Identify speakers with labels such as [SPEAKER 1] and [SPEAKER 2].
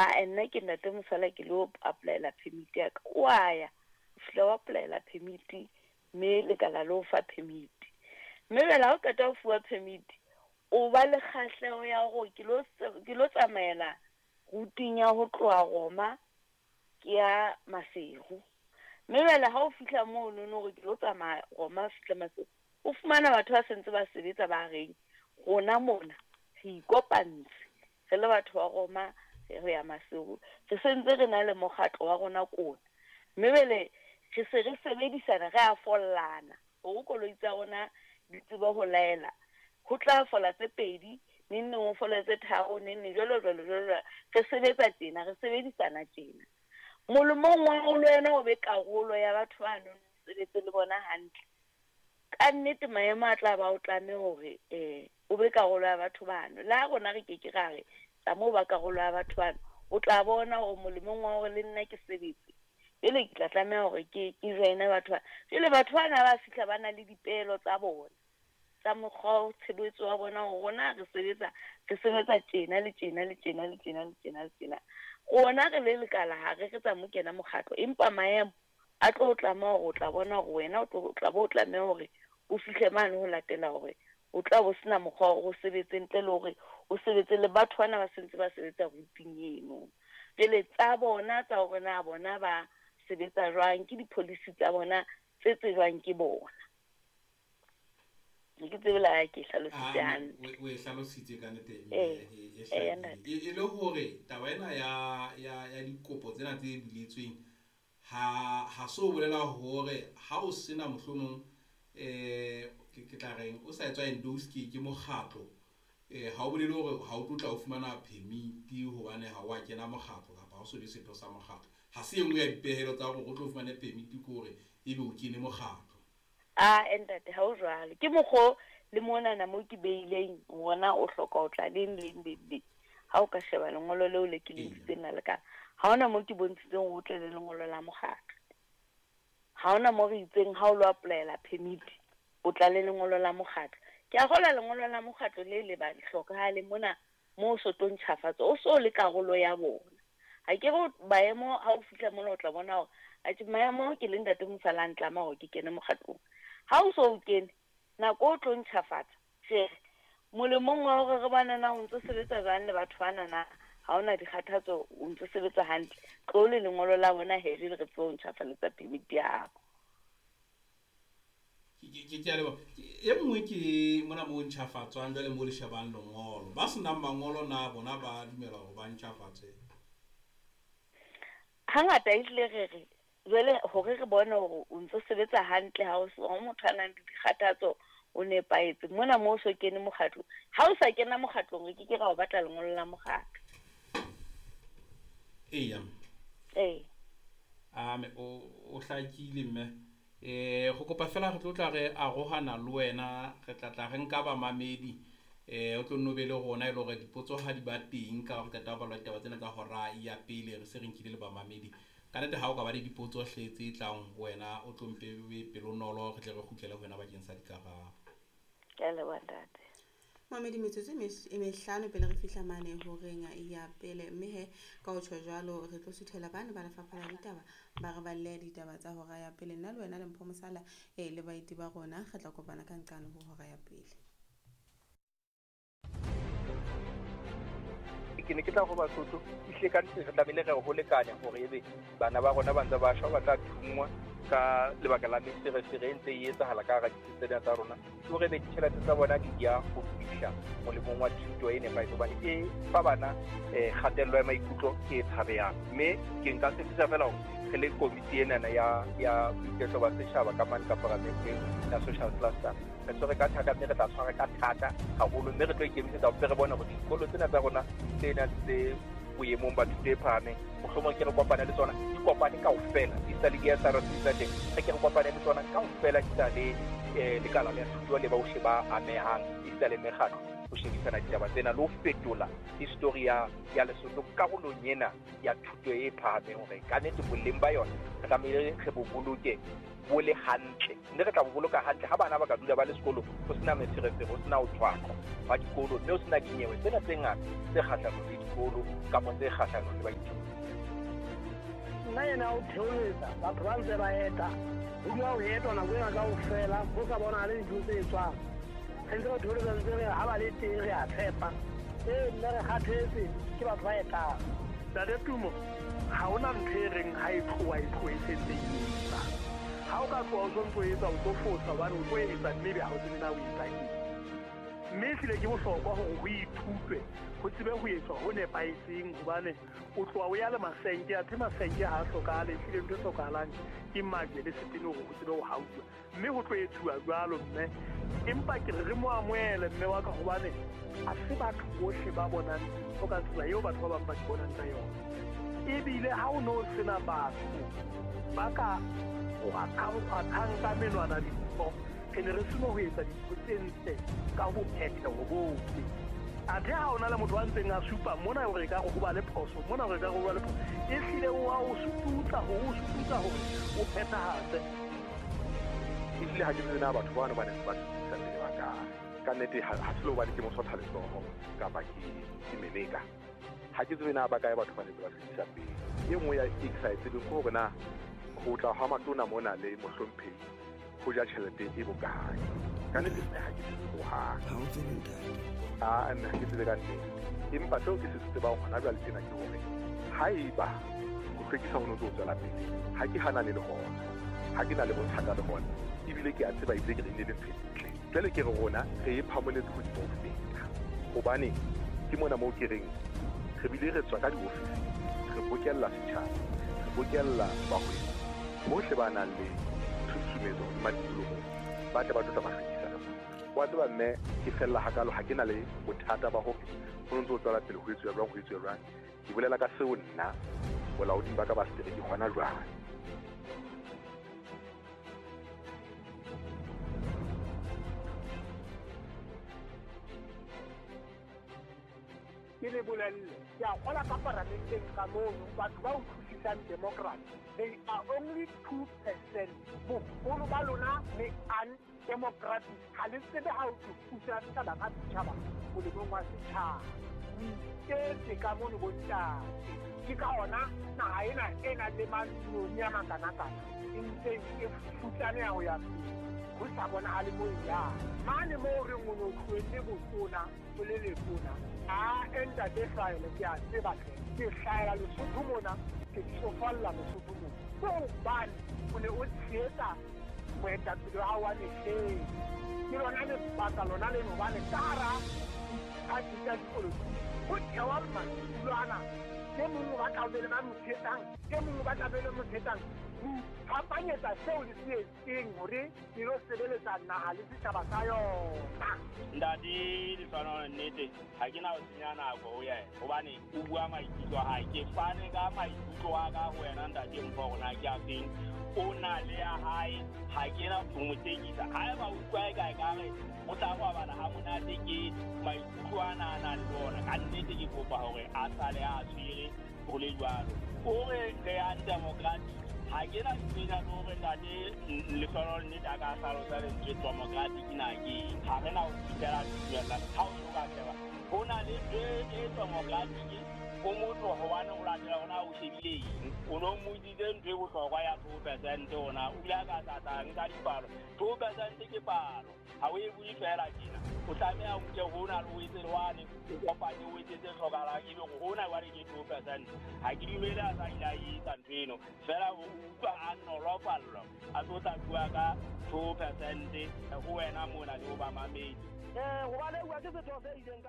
[SPEAKER 1] A nna ke Ntate Mosala ke lo applyela permit ya ka. O a ya, o fihla o applyela permit mme lekala le o fa permit. Mme jwale ha o qeta ho fuwa permit, o ba le kgahleho ya hore ke lo ke lo tsamaela routing ya ho tloha Roma ke ya Maseru. Mme jwale ha o fihla mono no hore ke lo tsamaya Roma fihla Maseru, o fumana batho ba sentse ba sebetsa ba reng rona mona re ikopantse re le batho ba Roma re ya Maseru, re sentse re na le mokgatlo wa rona kona. Mme jwale re se re sebedisana, re a follana hore koloi tsa rona di tsebe ho laela. Ho tla fola tse pedi, neng neng ho fole tse tharo, neng neng jwalo jwalo jwalo jwalo. Re sebetsa tjena, re sebedisana tjena. Molemong wa hore le wena o be karolo ya batho bano, o sebetse le bona hantle. Ka nnete maemo a tla ba o tlame hore o be karolo ya batho bano. Le ha rona re ke ke ra re tla ba karolo ya batho bano, o tla bona hore molemong wa hore le nna ke sebetse, jwale ke tla tlameha hore ke join-e batho ba. Jwale batho bana ba fihla ba na le dipehelo tsa bona tsa mokgwa wa tshebetso wa bona hore rona re sebetsa, re sebetsa tjena le tjena le tjena le tjena le tjena le tjena. Rona re le lekala ha re re tsamo kena mokgatlo, empa maemo a tlo tlameha hore o tla bona hore wena o tlo tla bo o tlameha hore o fihle mane ho latela hore o tla bo sena mokgwa wa hore o sebetse ntle le hore o sebetse le batho bana ba sentse ba sebetsa routing eno. Jwale tsa bona tsa hore na bona ba sebetsa jwang, ke di-policy tsa bona tse tsejwang ke bona. Ke tsebe la ke hlalositse hantle.
[SPEAKER 2] O e hlalositse ka nnete, e hlakile. E le hore taba ena ya dikopo tsena tse biletsweng ha so bolela hore ha o sena mohlomong ke tla reng o sa etswa endorse ke mokgatlo, ha o bolele hore ha o tlo tla o fumana permit hobane ha wa kena mokgatlo kapa ha o so be setho sa mokgatlo. Ha se e nngwe ya dipehelo tsa hore o tlo fumane permit ke hore ebe o kene mokgatlo.
[SPEAKER 1] A ntate, ha o jwalo. Ke mokgo le monana mo ke beileng rona o hloka ho tla leng leng leng leng. Ha o ka sheba lengolo leo le ke le ntshitseng la lekala, ha hona mo ke bontshitseng hore o tle le lengolo la mokgatlo. Ha hona mo re itseng ha o lo applyela permit, o tla le lengolo la mokgatlo. Ke a kgolwa lengolo la mokgatlo le le ba hlokahale mona mo so tlo ntjhafatsa, o so le karolo ya bona. Ha ke re maemo ha o fihla mona o tla bona hore atjhe maemo ke le Ntate Mosala a ntlama hore ke kene mokgatlong. Ha o so o kene, nako o tlo ntjhafatsa, re molemong wa hore re bone na o ntso sebetsa jwang le batho bana na, ha hona dikgathatso, o ntso sebetsa hantle, tlo le lengolo la bona he jwale re tsebe ho ntjhafaletsa permit ya hao.
[SPEAKER 2] Ke a leboha. E nngwe ke mona mo ntjhafatswang jwale mo le shebang lengolo. Ba senang mangolo na bona ba dumela hore ba ntjhafatse?
[SPEAKER 1] Hangata ehlile re re jwale hore re bone hore o ntso sebetsa hantle, ha o so motho a nang le dikgathatso, o nepahetse. Mona mo o so kene mokgatlong, ha o sa kena mokgatlong re ke ke ra o batla lengolo la mokgatlo.
[SPEAKER 2] Eya.
[SPEAKER 1] Ee.
[SPEAKER 2] Ame o hlakile mme. Go kopa fela re tlo tla re arohana le wena, re tla tla re nka bamamedi, o tlo nno be le rona e le hore dipotso ha di ba teng ka hore qeta ho bala ditaba tsena tsa hora ya pele, re se re nkile le bamamedi. Ka nnete ha o ka ba le dipotso hle tse tlang ho wena, o tlo mpe o be pelonolo, re tle re kgutlele ho wena bakeng sa dikarabo.
[SPEAKER 1] Ke a leboha ntate.
[SPEAKER 3] Mamedi, metsotso e mehlano pele re fihla mane horeng ya pele, mme he ka ho tjho jwalo re tlo suthela bane ba lefapha la ditaba ba re balle ditaba tsa hora ya pele. Nna le wena le Mpho Mosala le baeti ba rona re tla kopana ka nqane ho hora ya pele.
[SPEAKER 4] Ke ne ke tla ho Basotho, ehlile ka nnete re tlamehile re ho lekane hore ebe bana ba rona ba ntse ba shwa, ba tla thunngwa ka lebaka la meferefere e ntse e etsahala ka hara ditsi tsena tsa rona. Ke hore ebe ditjhelete tsa bona di ya ho fihla molemong wa thuto e nepahetseng, hobane e fa bana kgatello ya maikutlo e tshabehang. Mme ke nka tshepisa fela hore re le komiti enana ya boiketlo ba setjhaba ka mane ka paramenteng ya social cluster, re tshwere ka thata mme re tla tshwara ka thata haholo, mme re tlo ikemisetsa hore re bone hore dikolo tsena tsa rona tse nang tse boemong ba thuto e phahameng, mohlomong ke re kopane le tsona, di kopane kaofela, di sa le di-S R C tsa teng, re ke re kopane le tsona kaofela, di sa le lekala la thuto le bohle ba amehang, di sa le mekgatlo, ho shebisana ditaba tsena le ho fetola history ya Lesotho karolong ena ya thuto e phahameng, hore ka nnete boleng ba yona re tlamehile re bo boloke. bo le hantle, mme re tla bo boloka hantle ha bana ba ka dula ba le sekolong, ho sena meferefere, ho sena ho tshwaqwa hwa dikolo, mme ho sena dinyewe tsena tse ngata tse kgahlanong le dikolo kapa tse kgahlanong le baithuti.
[SPEAKER 5] Nna ena o theoletsa batho ba ntse ba eta, ho dula ho etwa nako ena kaofela, ho sa bonahale dintho tse etswang. Re ntse re theoletsa ntse re ha ba le teng re a tshepa. Ee, nna re kgathetse ke batho ba etang.
[SPEAKER 6] Ntate Tumo, ha hona ntho e reng ha e tloha e tlohe e sentse e etsa. Ha o ka tloha o sontso o etsa, o tlo fosa hobane o tlo etsa mme ebe ha o tsebe na o etsa eng. Mme ehlile ke bohlokwa hore ho ithutwe, ho tsebe ho etswa ho nepahetseng hobane o tloha o ya le masenke, athe masenke ha a hlokahale, ehlile ntho e hlokahalang ke majwe le setene hore ho tsebe ho hauwa. Mme ho tlo etsuwa jwalo mme, empa ke re re mo amohele mme wa ka hobane ha se batho bohle ba bonang dintho ka tsela eo batho ba bang ba di bonang ka yona. Ebile ha o no sena batho ba ka kgwathang ka menwana dintho, re ne re seno ho etsa dintho tse ntle ka bophetheho bohle. Athe ha ona le motho a ntseng a supa mona hore e ka re ho ba le phoso, mona hore e ka re ho ba le phoso, ehlile o a o sututsa hore o phethahatse.
[SPEAKER 7] Ehlile ha ke tsebe na batho bano ba ne ba sutusa pele ba kae. Ka nnete ha se le hobane ke mosotha letsoho kapa ke meleka. Ha ke tsebe na ba kae batho ba ne ba sutusa pele. E nngwe ya e ke sa e tsebeng ke hore na ho tla ha matona mona le mohlomphehi ho ja tjhelete e bokae. Ka nnete mme ha ke tsebe hohang.
[SPEAKER 8] Ha o tsebe ntate.
[SPEAKER 7] Ah, mme ha ke tsebe ka nnete. Empa seo ke se tsebang hona jwale tjena ke hore haeba ho hlwekisa ho no ntso tswela pele, ha ke hanane le hona, ha ke na le bothata le hona, ebile ke a tseba ebile ke re ne le ntho e ntle. Jwale ke re rona re e phamoletse hodimo ho feta. Hobane ke mona moo ke reng re bile re tswa ka diofising, re bokella setjhaba, re bokella bahwebi bohle ba nang le tshusumetso hodima tikoloho, ba tle ba tlo tla ba hlwekisa le bona. Wa tseba mme ke fella hakalo, ha ke na le bothata ba hore ho ntso tswela pele ho etsuwa jwang, ho etsuwa jwang. Ke bolela ka seo nna bolaoding ba ka ba setereke hona jwale.
[SPEAKER 5] Ke le bolelle, ke a kgola ka paramenteng ka mono, batho ba utlwisisang democracy, they are only 2%. Boholo ba lona le undemocratic. Ha le tsebe ha o pusa setjhaba ka setjhaba molemong wa setjhaba. O iketse ka mono bontate. Ke ka hona naha ena e nang le manoni a makanakana e ntseng e futsaneha ho ya pele, ho sa bonahale moo e yang. Mane moo re o no tlohelle botona o le letona, a ntate hlahele ke a tseba hle, ke hlahela Lesotho mona, ke tsofalla Lesotho mona. Ke hobane o ne o tshehetsa moetapele wa hao wa mehleng. Ke lona lebaka lona leno hobane ka hara diphathi tsa dipolotiki ho thewa madulo ana, e mong o batla ho be le ba mo tshehetsang, e mong o batla be le mo tshehetsang. Ho iphapanyetsa seo le se etseng hore le lo sebeletsa naha le setjhaba sa yona.
[SPEAKER 9] Ntate Lehlohonolo, nnete ha ke na ho senya nako ho yena hobane o bua maikutlo a hae. Ke fane ka maikutlo a ka ho wena ntate Mpho hore na ke a feng. O na le ya hae, ha ke na ho mo tekisa. Haeba o utlwa eka ekare o tla robala ha monate ke maikutlo ana a nang le ona, ka nnete ke kopa hore a sale a tshwere ho le jwalo. O re re undemocratic, ha ke na ntho le hore ntate Lehlohonolo nnete a ka hlalosa lentswe democratic na ke eng. Ha re na ho fihlela dumella ha o so ka sheba ho na le ntho e democratic o motho hobane o latela hona o shebile eng. O no mmotsitse ntho e bohlokwa ya 2% ona, o bile a ka tlatla nka dipalo. 2% ke palo, ha o e bue fela tjena. O tlameha o nke hona le o etse le wane, o kopanye o etse tse hlokahalang, ebe hore hona jwale ke 2%. Ha ke dumele a sa ile a etsa ntho eno, fela o utlwa a nolofallwa a tlo tla bua ka 2% ho wena mona le ho bamamedi.
[SPEAKER 5] Hobane bua ke setho se ileng ka